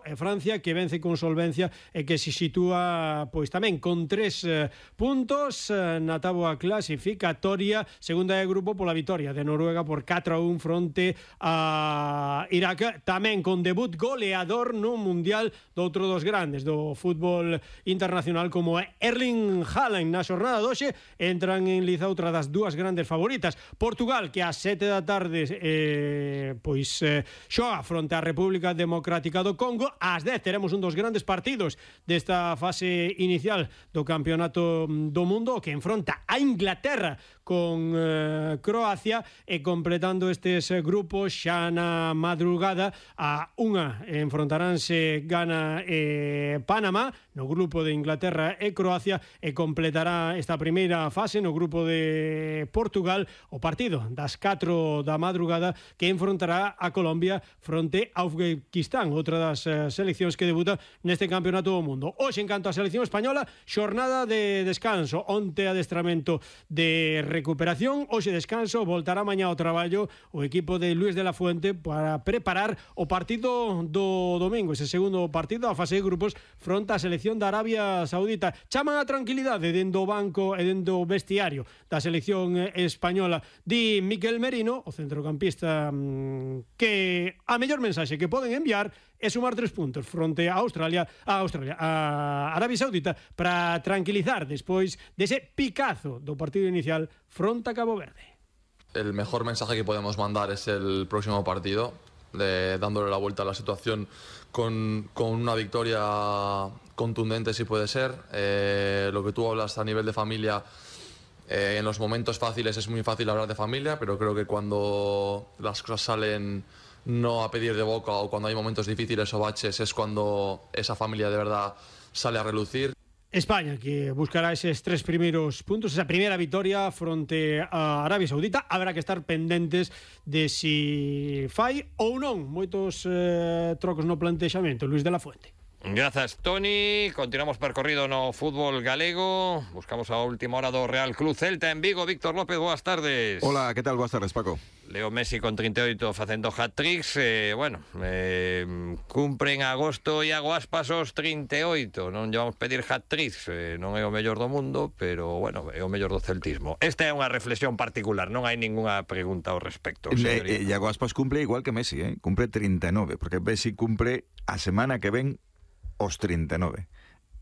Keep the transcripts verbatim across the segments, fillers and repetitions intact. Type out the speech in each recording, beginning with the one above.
e Francia, que vence con solvencia e que se sitúa pois tamén con tres eh, puntos eh, na táboa clasificatoria, segunda de grupo pola vitoria de Noruega por catro a un fronte a Irak, tamén con debut goleador no Mundial do outro dos grandes do fútbol internacional como Erling Haaland. Na xornada doxe entran en liza outra das dúas grandes favoritas, Portugal, que ás sete da tarde eh, pois eh, xoga fronte á República Democrática do Congo. Ás dez teremos un dos grandes partidos desta fase inicial do Campeonato do Mundo, que enfronta a Inglaterra con eh, Croacia, e completando estes grupos xa na madrugada a unha enfrontaránse Ghana e Panamá no grupo de Inglaterra e Croacia, e completará esta primeira fase no grupo de Portugal o partido das catro da madrugada, que enfrontará a Colombia fronte a Uzbekistán, outra das eh, seleccións que debuta neste Campeonato do Mundo. Hoxe, en canto á selección española, xornada de descanso, onte adestramento de recuperación, hoxe descanso, voltará mañá ao traballo o equipo de Luis de la Fuente para preparar o partido do domingo, ese segundo partido a fase de grupos fronte á selección da Arabia Saudita. Chaman a tranquilidade dentro do banco e dentro do vestiario da selección española, di Miquel Merino, o centrocampista, que a mellor mensaxe que poden enviar é sumar tres puntos fronte a Australia, a Australia, a Arabia Saudita, para tranquilizar despois dese picazo do partido inicial fronte a Cabo Verde. El mejor mensaje que podemos mandar es el próximo partido, de, dándole la vuelta a la situación con, con una victoria contundente, si puede ser. Eh, lo que tú hablas a nivel de familia, eh, en los momentos fáciles es muy fácil hablar de familia, pero creo que cuando las cosas salen no a pedir de boca, o cuando hay momentos difíciles o baches, es cuando esa familia de verdad sale a relucir. España, que buscará eses tres primeiros puntos, esa primeira vitoria fronte a Arabia Saudita. Habrá que estar pendentes de si fai ou non moitos eh, trocos no plantexamento. Luis de la Fuente. Grazas, Toni. Continuamos percorrido no fútbol galego. Buscamos a última hora do Real Club Celta en Vigo. Víctor López, boas tardes. Hola, que tal? Boas tardes, Paco. Leo Messi con trinta e oito facendo hat-tricks. Eh, bueno, eh, cumpre en agosto Iago Aspas os trinta e oito. Non llevamos pedir hat-tricks, eh, non é o mellor do mundo, pero, bueno, é o mellor do celtismo. Esta é unha reflexión particular, non hai ningunha pregunta ao respecto. Eh, eh, Iago Aspas cumple igual que Messi, eh? Cumple trinta e nove, porque Messi cumple a semana que ven os trinta e nove.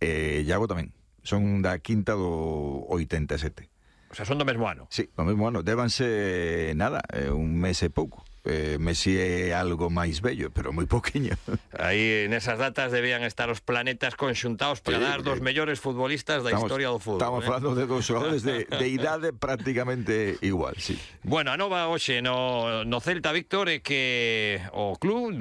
Eh, Iago tamén. Son da quinta do oitenta e sete. O sea, son do mesmo ano. Sí, do mesmo ano. Débanse, nada, eh, un mes e pouco. Eh, Messi é algo máis bello, pero moi poquinho. Aí, nesas datas, debían estar os planetas conxuntados para sí, dar dos mellores futbolistas da estamos, historia do fútbol. Estamos eh? falando de dos xogadores de, de idade prácticamente igual, sí. Bueno, a nova hoxe no, no Celta, Víctor, é que o club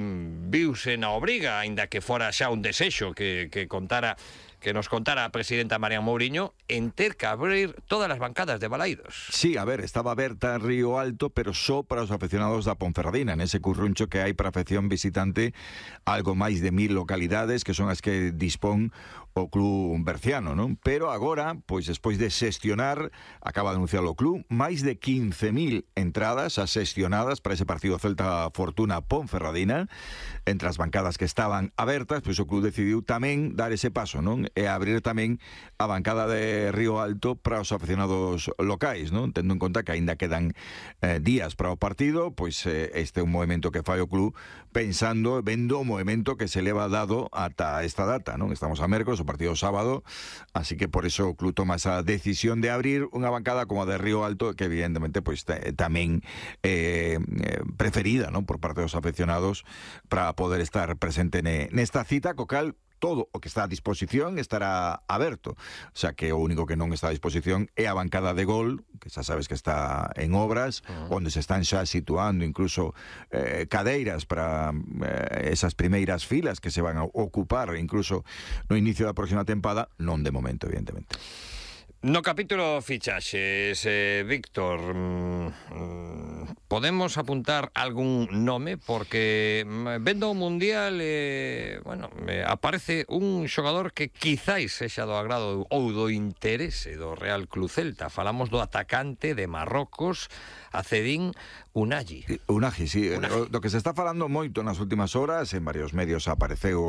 viuse na obriga, aínda que fora xa un desexo que, que contara que nos contara a presidenta Marian Mouriño, en ter que abrir todas as bancadas de Balaídos. Sí, a ver, estaba aberta Río Alto, pero só para os aficionados da Ponferradina, nese curruncho que hai para a afección visitante, algo máis de mil localidades, que son as que dispón o club berciano, non? Pero agora, pois despois de xestionar, acaba de anunciar o club, máis de quince mil entradas xestionadas para ese partido Celta Fortuna Ponferradina, entre as bancadas que estaban abertas, pois o club decidiu tamén dar ese paso, non? E abrir tamén a bancada de Río Alto para os aficionados locais, non? Tendo en conta que aínda quedan eh, días para o partido, pois eh, este é un movimento que fai o club pensando, vendo o movimento que se leva dado ata esta data, non? Estamos a mércores, o partido sábado, así que por eso o club toma esa decisión de abrir unha bancada como a de Río Alto, que evidentemente pois tamén eh, preferida, non? Por parte dos aficionados para poder estar presente nesta cita, co cal todo o que está a disposición estará aberto. O sea que o único que non está a disposición é a bancada de Gol, que xa sabes que está en obras, uh-huh. onde se están xa situando incluso eh, cadeiras para eh, esas primeiras filas que se van a ocupar incluso no inicio da próxima tempada, non de momento, evidentemente. No capítulo fichaxes, eh, Víctor, mmm, podemos apuntar algún nome, porque vendo o Mundial, eh, bueno, eh, aparece un xogador que quizáis sexa do agrado ou do interese do Real Club Celta. Falamos do atacante de Marrocos, Acedín Unagi. Unagi, sí. Unagi. Do que se está falando moito nas últimas horas, en varios medios apareceu